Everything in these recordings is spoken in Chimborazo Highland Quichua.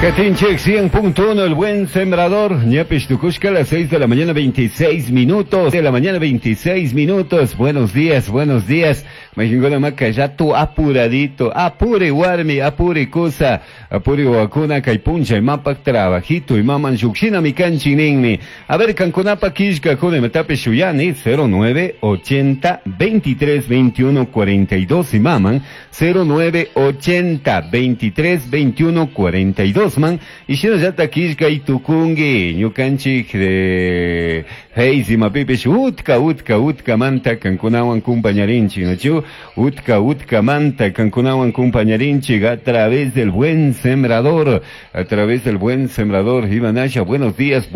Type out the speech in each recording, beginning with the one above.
Katinchik 100.1, El Buen Sembrador, Ñapish Tukushka, a las 6 de la mañana 26 minutos, de la mañana 26 minutos, buenos días, buenos días, Majingona Maca, ya tu apuradito, apure warmi, apure cosa, apure wakuna, kaypuncha, imapak trabajito, imaman yukshina mi kanchi ninmi. A ver, kankunapa kishka, kune metape shuyani, 09 80 23 21 42, imaman, 09 80 23 21 42, man, y shinallata kishka y tukungi, ñukanchik de Heis imapipish, utka, utka, utka manta, kankunawan kumpañarinchik, ¿no? Utka, utka manta, kankunawan kumpañarinchik, a través del Buen Sembrador, a través del Buen Sembrador, Ivanasha, buenos días,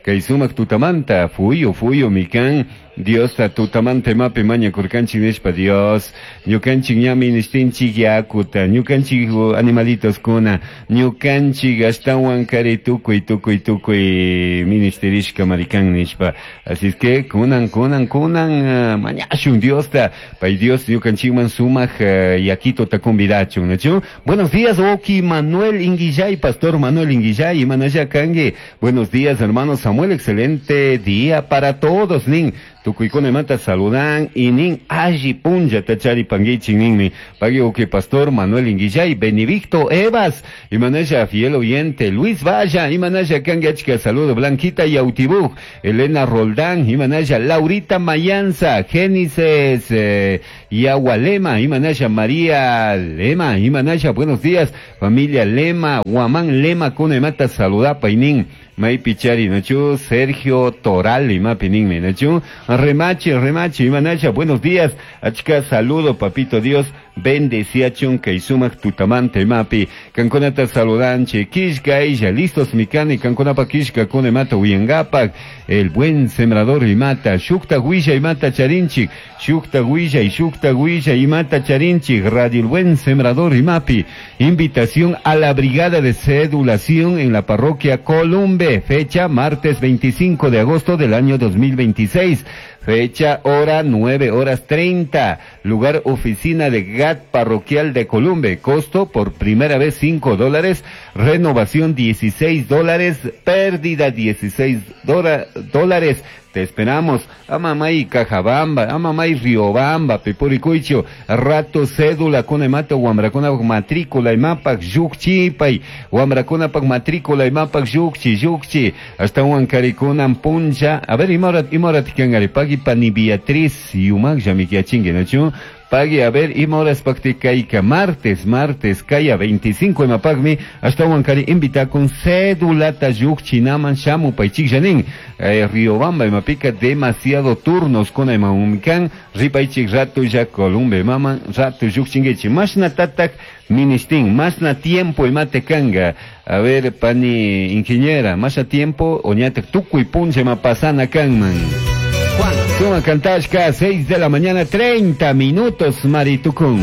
Kaisumak tutamanta, fuyo, fuyo, mikan, Dios ta tutamanta mapi maña kurkanchik nishpa Dios, ñukanchik ñami nishtinchik yakuta, ñukanchik animalitos kuna, ñukanchik ashtawan kari tukuy, tukuy, tukuy ministerishka marikan nishpa. Así es que kunan, kunan, kunan, mañashun Dios ta, pay Dios ñukanchikman sumak yakito ta convidachun, ¿no? Buenos días, Oki Manuel Inguillay, Pastor Manuel Inguillay, Manaya Kangue. Buenos días, hermano Samuel, excelente día para todos, nin. Tukuykuna mata saludan y nin alli punlla tachari panguichi ninmi. Pagui oki Pastor Manuel Inguillay, Benedicto Evas, y manaya fiel oyente, Luis Valla, y manaya Kangachka, saludo, Blanquita Yautibuj, Elena Roldán, y manaya Laurita Mayanza, Génesis, Yagualema, y manaya María Lema, y manaya, buenos días, familia Lema, Guamán Lema, Kunemata, saludapa y nin. Maipichari, Nachu, Sergio Toral, y Mapininme, Nachu, Remache, Remache, Imanacha, buenos días, Achka, saludo, papito Dios, bendecía chunka y sumak tutamante mapi, Canconata saludanche, Kishka, ella, listos mikani, Canconapa Kishka, Konemata, Uyangapak, el buen sembrador y mata, Shukta Huilla y mata charinchik, Shukta Huilla y Shukta Huilla y mata charinchik, Radio el buen sembrador y mapi, invitación a la brigada de cedulación en la parroquia Columbe, fecha martes 25 de agosto del año 2026, fecha hora 9:30, lugar oficina de GAT parroquial de Columbe, costo por primera vez $5, renovación $16, pérdida $16. Te esperamos, Amamay Cajabamba, Amamay Riobamba, Pepuricuicho, Rato Cédula, Conemato, Huambracona, Matrícula, Imapac, Yucchipay, Huambracona, Matrícula, Imapac, Yucchi, Yucchi, hasta Huancaricuna, Puncha, a ver, Imorat, Imorat, Kangari, Pagui, Pani Beatriz, Yumac, Yamiquiachingue, ¿no? Pagui, a ver, Imoras Pacticaica, martes, martes, Caya, 25, Imapagmi, hasta Huancari, invita con cédula, Tayucchi, Naman, Shamu, Paichik, Janín, Riobamba, Imapica, demasiado turnos con Imaumican, Ripaichik, Rato, ya Columbe, Mama, Rato, Yuchinguechi, Masna Tatak, Ministín, Masna tiempo y matecanga. A ver, pani ingeniera, más a tiempo, oñate, tucu y punche, mapasana, canman. Juan. Suma Cantashka, 6 de la mañana, 30 minutos, Maritucún.